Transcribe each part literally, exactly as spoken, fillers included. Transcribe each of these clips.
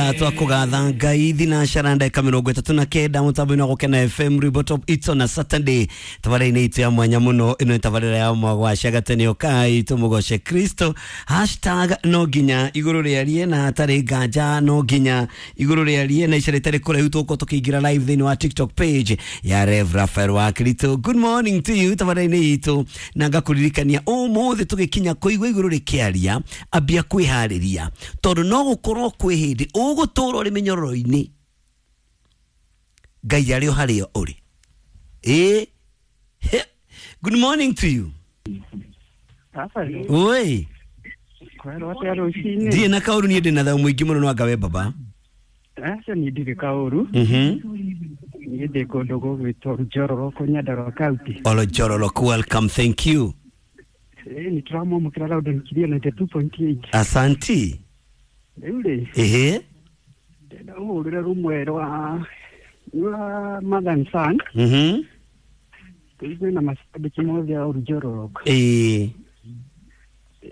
Twakugatha Ngai thinacara ndagika mirongo itatu na kenda mutambo-inĩ wa Gũkena F M Rwimbo Top It's on a Saturday. Tabarĩra-inĩ itũ ya mwanya mũno, ĩno nĩ tabarĩra ya mwagwaca gatene ũkai tũmũgoce Kristo. Hashtag no nginya igũrũ rĩarie na hatarĩ nganja, no nginya igũrũ rĩarie na ica rĩtarĩ kũraihu tũgũkorwo tũkĩingĩra live thĩinĩ wa TikTok page ya Rev Raphael wa Kristo. Good morning to you tabarĩra-inĩ itũ, na ngakũririkania ũmũthĩ tũgĩkinya kũigua igũrũ rĩkĩaria, ambia kwĩharĩria tondũ no gũkorwo kwĩ hĩndĩ ũgũtũra ũrĩ mĩnyororo-inĩ, Ngai arĩ o harĩa ũrĩ. Ĩ, good morning to you. Oi. Kwerwo atĩa rũcinĩ? Ndirĩ na kaũru, niĩ ndĩ na thayũ mũingĩ mũno, no anga we baba? Aca niĩ ndirĩ kaũru. Mhm. Niĩ ndĩ kũndũ gũgwĩtwo Njororoko, Nyandarua County. Olo Njororoko, welcome, thank you. Ĩ, nĩ tũramwamũkĩra Loudon Kiria ninety two point eight. Asanti. Rĩu rĩ, Ehe. ndĩrenda ũhũrĩre rũmwe rwa rwa Mother and Son. Mhm. Tũigue na macambĩki mothe a Njororoko. Ĩ.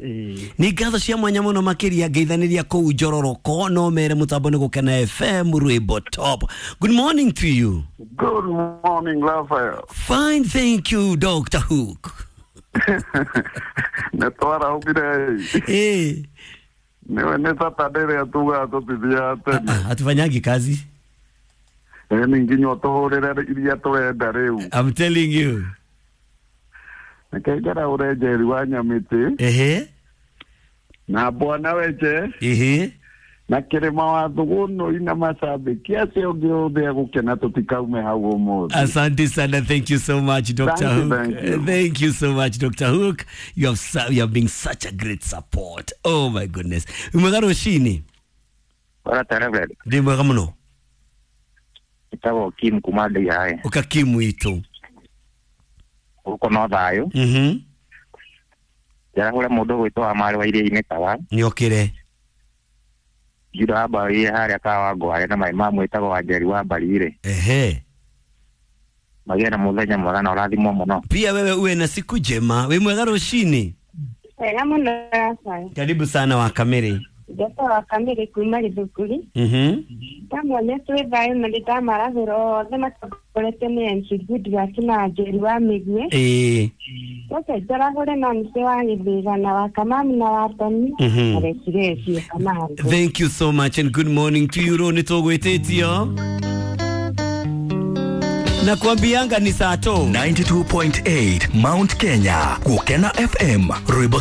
Ĩ. Nĩ ngatho cia mwanya mũno makĩria ngeithanĩria kũu Njororoko, no mere mũtambo nĩ Gũkena F M Rwimbo Top. Good morning to you. Good morning, Raphael. Fine, thank you, Doctor Hook. Nĩ twarahũkire. Ĩ. Nĩwe nĩ Saturday ĩrĩa tugaga tũtithiaga tene. Ah, hatufanyangi kazi. Ĩ, nĩ nginya ũtũhũrĩre iria tũrenda rĩu. I'm telling you. Reke njaraũre Njeri wa Nyamĩtĩ. Ehe. Na Bwana Weche. Ehe. Na Kĩrĩma wa Thũgũnũi na macambĩki acio angĩ othe a Gũkena tũtikaume hau ũmũthĩ. Asante sana, thank you so much, Doctor Thank you, Hook. thank you. Thank you so much, Doctor Hook. You have su-, you have been such a great support. Oh my goodness. Mwega rũcinĩ. Ora Reverend. Ndĩ mwega mũno. Ĩtagwo Kim kuma Ndeiaĩ. Ũka Kim witũ. Gũkũ no thayũ. Mhm. Njarahũre mũndũ ũgwĩtwo wa Marĩ wa Iria-inĩ Tawa. Nĩokĩre. Juda wa Mbarire harĩa Kawangware na maĩ ma mwĩtagwo wa Njeri wa Mbarire. Ehe. Magĩe na mũthenya mwega na ũrathimwo mũno. Pia wewe uwe na siku njema. Wĩ mwega rũcinĩ. Wega mũno Rafael. Karibu sana wa Kamere. Njata wa Kamere kuma Gĩthukuri. Mhm. Ndamwonia twĩ thayũ na nĩndamarathũra othe matongoretio nĩ M C Goodluck na Njeri wa Mĩguĩ. Ĩĩ. Reke njarahũre Nancy wa Gĩthĩga na wa Kamami na wa Toni. Mhm. Na Rekirecio Kamande. Thank you so much and good morning to you. Ro nĩ tũgwĩtĩtio. Na kuambianga ni saa to. ninety two point eight Mount Kenya, Gũkena F M, Rwimbo